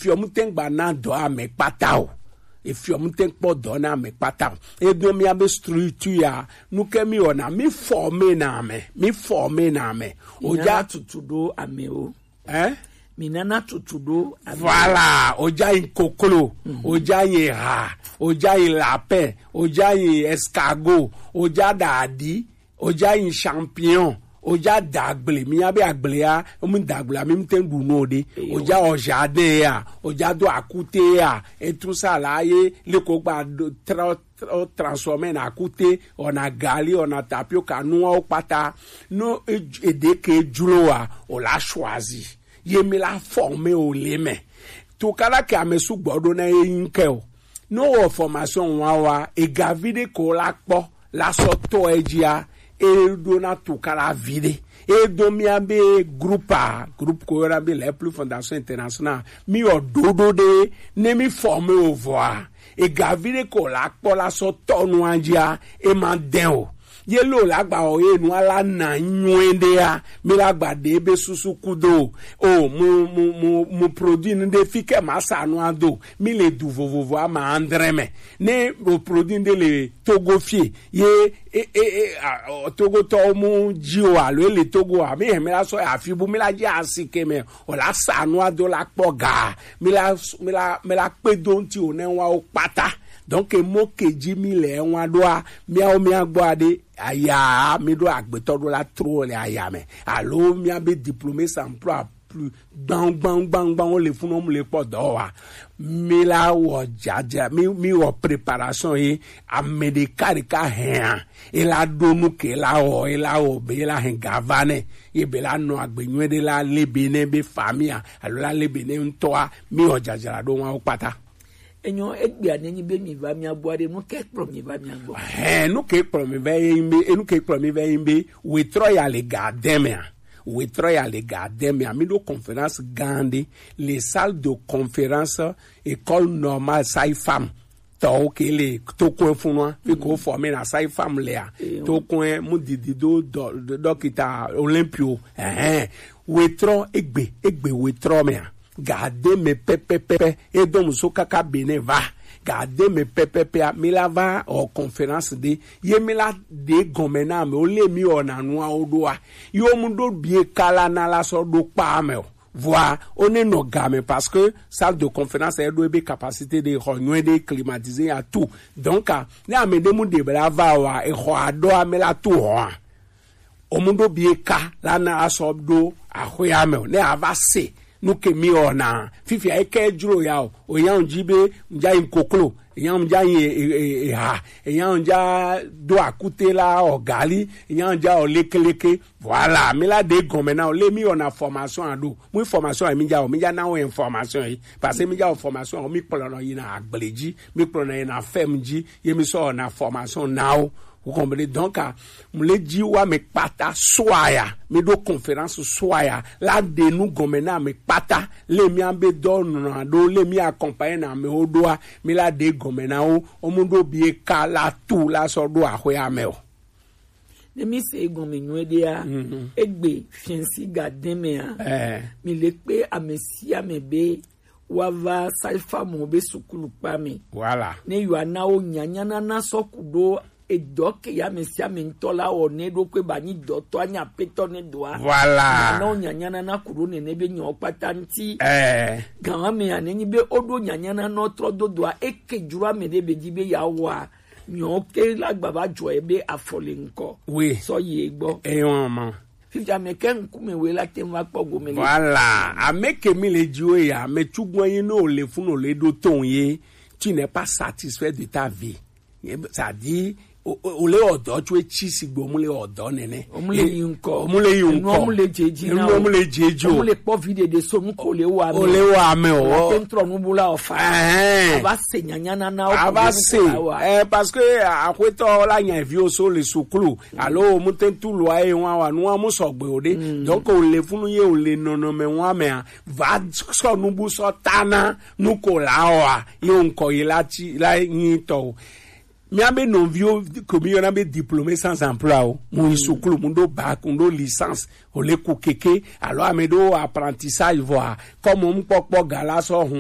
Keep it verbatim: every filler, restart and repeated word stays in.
Efiɔ mu tɛn gba na dɔ amɛ kpata o. Efiɔ mu tɛn kpɔ dɔ na amɛ kpata o. Edo mia be structure ya, nu ke mi wɔna, mi forme na amɛ, mi forme na amɛ. O ja tutu do amɛ o. Hein? Mi nana tutu do amɛ. Voilà, o ja yin koklo, o ja yin ha, o ja yin lapin, o ja yin escargot, o ja dadi, o ja yin champignon, o ja dagble, mi nya be agble ya, mu dagble ya, mi mu tɛn ɖu nu o ɖe. O ja o jardin ya, o ja do akute ya, et tout ça là, ye le ko gba do tra o transformer na akute, ona gali, ona tapioca, nuawo kpata. No e- eɖe ke jlo wa, o la choisi. Ye mi la former o le mɛ. Tukala ke ame sugbɔ ɖo na ye yin ke o. No wɔ formation wa wa, egavi ɖe ko la kpɔ, la sɔ tɔ ejia, e ɖo na tukala vi ɖe. E do mia be groupe a, groupe ko yɔna be Les Plus Fondation International. Mi wɔ ɖoɖo ɖe, ne mi former o vɔa, egavi ɖe ko la kpɔ la sɔ tɔ nua jia, e ma dɛn o. Ye lo la gba o ye nua la na nyuie ɖe ya, mi la gba ɖe be susu kudo o. O mu mu mu mu produit nu ɖe fi ke ma sa nua do, mi le du vovovo ama andre mɛ. Ne o produit ɖe le Togo fie, ye e e e a, o, Togo tɔ mu ji o alo e le Togo a, mi hɛn mi la sɔ ya fi bu mi la ji asi ke mɛ. O la sa nua do la kpɔ ga, mi la mi la mi la kpe do ŋti o ne wa o kpata. Donc mo ke ji mi le wa ɖoa, miawo mia gbɔ aɖe aya mi ɖo agbetɔ ɖo la tro le aya mɛ, alo mia be diplômé sans emploi plus gbãu gbãu gbãu gbãu wo le funu wo mu le kpɔ dɔ wa. Mi la wɔ dzadzra, mi mi wɔ préparation ye ame ɖeka ɖeka hɛa, e la ɖo nu ke la wɔ, e la wɔ be e la hɛn ga va nɛ, ye be la nɔ agbe nyuie ɖe la le be ne be famia alo la le be ne ŋutɔa, mi wɔ dzadzra ɖo wa wo kpata. Enyo, egbea ne nyi be mi va mia gbɔ aɖe, nu ke kplɔ mi va mia gbɔ? Hɛn, nu ke kplɔ mi va ye nyi be, enu ke kplɔ mi va ye nyi be, wetrɔ ya le ga de mea. Wetrɔ ya le ga de mea. Mi ɖo conférence gã ɖe le salle de conférence École Normale Sage-Femme tɔwo ke le Tokoe funua, fi ko forme na sage-femme lea. Tokoe mu didi do dɔ-, dɔ-, dɔkita Olympio. Ɛhɛn. Wetrɔ egbe, egbe wetrɔ mea. Ga de mɛ pɛpɛpɛ, e dɔn muso kaka Benin va. Ga de mɛ pɛpɛpɛa, mi la va wɔ conférence ɖe. Ye mi la ɖe gɔnmɛ na amewo le mi wɔna nuawo ɖoa. Ye wo mu ɖo bie kala na la sɔ ɖo kpa mɛ o. Vɔa, o ne nɔ ga mɛ parce que salle de conférence e ɖo ebe capacité ɖe, xɔ nyuie ɖe, climatisé ya tout. Donc, a, ne ame ɖe mu ɖe be la va wa, e xɔ aɖo ame la tout hɔa. O mu ɖo bie ka la na asɔ ɖo axɔea mɛ o. Ne a va se nu ke mi wɔna. Fifia e ke jlo ya o. O ya ŋdzi be ŋdza yi koklo, e ya ŋdza yi e, e, e, eha, e ya ŋdza do akute la o gali, e ya ŋdza o lekeleke. Voilà, mi la ɖe gɔnmɛ na o le mi wɔna formation a ɖo. Mu formation a mi dza o, mi dza na o information yi. Parce que mi dza o formation a o, mi kplɔ nɔ yi na agble dzi, mi kplɔ nɔ yi na fɛm dzi, ye mi sɔ na formation na o. Vous comprenez? Donc, a, mu le dzi wa mi kpata soa ya, mi ɖo conférence soa ya, la ɖe nu gɔnmɛ na mi kpata, le mi a be dɔ nɔ ɖo, le mi accompagner na mi o ɖoa, mi la ɖe gɔnmɛ na o, o mu ɖo bie ka la tout la sɔ ɖo axɔea mɛ o. Ne mi se egɔnmɛ nyuie ɖea, egbe fiɛnsi ga de mɛa, mi le kpe ame sia ame be wa va sage-femme be sukulu kpa mɛ. Voilà. Ne yɔ ana wo nyanyanana sɔ ku ɖo edɔ ke ya ame sia ame ŋutɔ la wɔ ne ɖo kpe ba nyi dɔtɔ anyi apetɔ ne doa. Voilà. Ana wo nyanyanana ku ɖo nene be nyɔ kpata ŋti. Ɛɛ. Gan ame ya ne nyi be o ɖo nyanyanana trɔ do doa, e ke jro ame ɖe be dzi be ya wɔa. Nyɔ ke la gba va dzɔ ebe afɔ le ŋkɔ. Oui. Sɔ yi egbɔ. Eyɔn ma. Fifia ame ke ŋkume we la te va kpɔ gome le. Voilà. Ame ke mi le dziwo ya, ame tsugbɔ yi no le funu le ɖo ton ye. Tu n'es pas satisfait de ta vie. C'est-à-dire, o, o, o le ɔdɔ tso etsi sigbe o mu le ɔdɔ nene. O mu le yi ŋkɔ. O mu le yi ŋkɔ. Enu o mu le dze dzi na o. Enu o mu le dze dzi o. O mu le kpɔ vi ɖeɖe so nu ko le wa me. O le wa me o. O te ŋtrɔ nu bu la o fa. Ɛhɛn. A va se nyanya nana o. A va se. Eh, parce que, ah, axwetɔ la nya viwo so le suklu. Alo o mu te ŋtu lua ye wa wa nua mu sɔgbe o ɖe. Donc o le funu ye o le nɔnɔme wa mea, va sɔ nu bu sɔ ta na nu ko la o a. Ye o ŋkɔ ye la ti, la nyi tɔ o. Mía be nɔviwo ke mi yɔna be diplômé sans emploi o, mu yi suklu, mu ɖo bac, mu ɖo licence, o le ku keke, alo ame ɖo apprentissage vɔa, comme mu kpɔkpɔ ga la sɔ hun